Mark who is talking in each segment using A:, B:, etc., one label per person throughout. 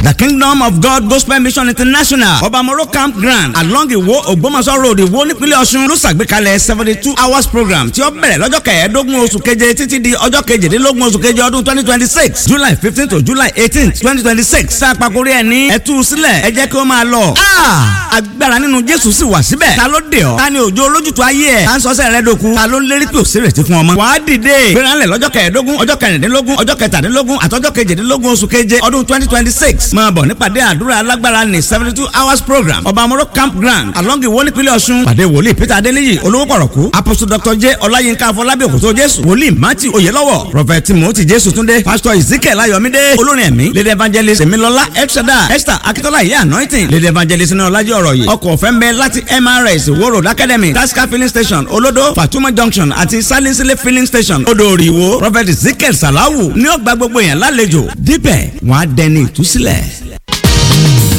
A: The Kingdom of God Gospel Mission International, Obamoro Campground, along Iwo Ògbómọ̀ṣọ́ Road, Ìwó, nípínlẹ̀ Ọ̀ṣun, ló ṣàgbékalẹ̀ 72 hours program tí ó bẹ̀rẹ̀ lọ́jọ́ 15 oṣù keje títí di ọjọ́ 18 oṣù keje ọdún 2026, July 15 to July 18, 2026. Sáà pàkórí ẹ̀ ní ẹ̀tú sílẹ̀, ẹ jẹ́ kí ó máa lọ. Agbára nínú Jésù sì wà síbẹ̀. Ta ló dé ọ? Ta ni òjò olójútu ayé ẹ̀? Ta ń sọ́sẹ̀ rẹ dòkun? Ta ló ń lérí pé òsèrèsí fún ọmọ? Wàá dìde gbéranlẹ̀ lọ́jọ́ 15, ọjọ́ 16, ọjọ́ 23 àtọ́jọ́ 18 oṣù keje ọdún 2026. Máa bọ̀ nípàdé àdúrà alágbára ní 72 hours program, Ọbàmọ́rọ́ Campground, along Ìwó, nípínlẹ̀ Ọ̀ṣun. Pàdé wòlíì Peter Adéníyì olówó pọ̀rọ̀kú, Apostle Dr. J Ọláyínká Afọlábí Òkòtó Jésù, wòlíì Matthew Oyèlọ́wọ̀, Prophet Timothy Jésù Túndé, Pastor Ezekiel Ayọ̀mídé, olórin ẹ̀mí Lady Evangelist Emilọlá Elshada, Esther Akitola, Ìyá Anointing, Lady Evangelist ní Ọlájí ọ̀rọ̀ yìí. Ọkọ̀ ọ̀fẹ́ ń bẹ láti MRS, Ìwó Road Academy, Tasca Filling Station, Olodo, Fatuma Junction àti Salinsile Filling Station, Odò Òrìwó. Prophet Ezekiel Salawu ní ọgbà gbogbo yẹn lálejò. Dípẹ̀ wọ́n á dẹni ìtúsílẹ̀.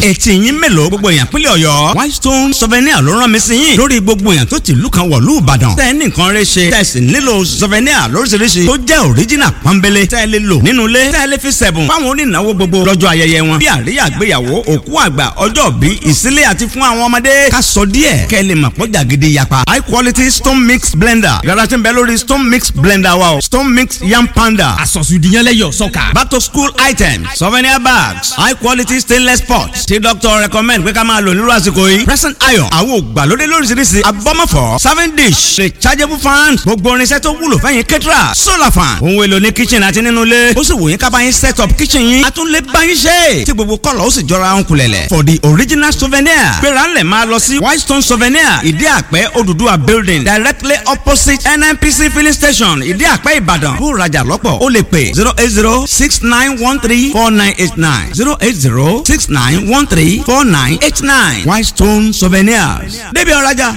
A: Etí yín mélòó, gbogbo èèyàn pínlẹ̀ Ọ̀yọ́? Whitestone Souvenir ló rán mi sí yín lórí gbogbo èèyàn tó ti ìlú kan wọ̀lú Ìbàdàn tẹ́ ẹ ní nǹkan rẹ ṣe, tẹ́ ẹ sì nílò souvenir lóríṣiríṣi tó jẹ́ original pọ́nbélé, tẹ́ ẹ lè lò nínú ilé, tẹ́ ẹ lè fi sẹ̀bùn fáwọn onínáwó gbogbo lọ́jọ́ ayẹyẹ wọn, bí àríyá ìgbéyàwó, òkú àgbà, ọjọ́ bí, ìsílẹ̀ àti fún àwọn ọmọdé. Ká sọ díẹ̀ kẹ́ ẹ lè mọ̀ pọ́jà gidi yapa. High quality stone mix blender yàrá tí ń bẹ lórí stone mix blender wa o, stone mix yam panda
B: Àsọ̀sùdìyànlẹ́yọ̀ sọ́kà.
A: Back to school items, souvenir bags, high quality stainless pots tí doctor recommend pé ká máa lò nírú àsìkò yìí, present iron, àwọn ògbàlódé lóríṣiríṣi, abọ́mọ̀fọ́ serving dish, rechargeable fan, gbogbo irinṣẹ́ tó wúlò fẹ́yìn kẹ́tìrà, solar fan, ohun èlò ní kitchen àti nínú ilé. Ó sì wò yín ká bá yín set up kitchen yín, a tún lè bá yín ṣe tí gbogbo kọ́lọ̀ ó sì jọra ń kulẹ̀lẹ̀. For the original souvenir, gbéra ńlẹ̀ máa lọ sí Whitestone Souvenir, Ìdí Àpẹ́, Odùduwà Building, directly opposite NNPC filling station, Ìdí Àpẹ́, Ìbàdàn. Kó rajà lọ́pọ̀, ó lè pè 08069134989, 08069134989. Whitestone Souvenirs, débi ọ̀rajà.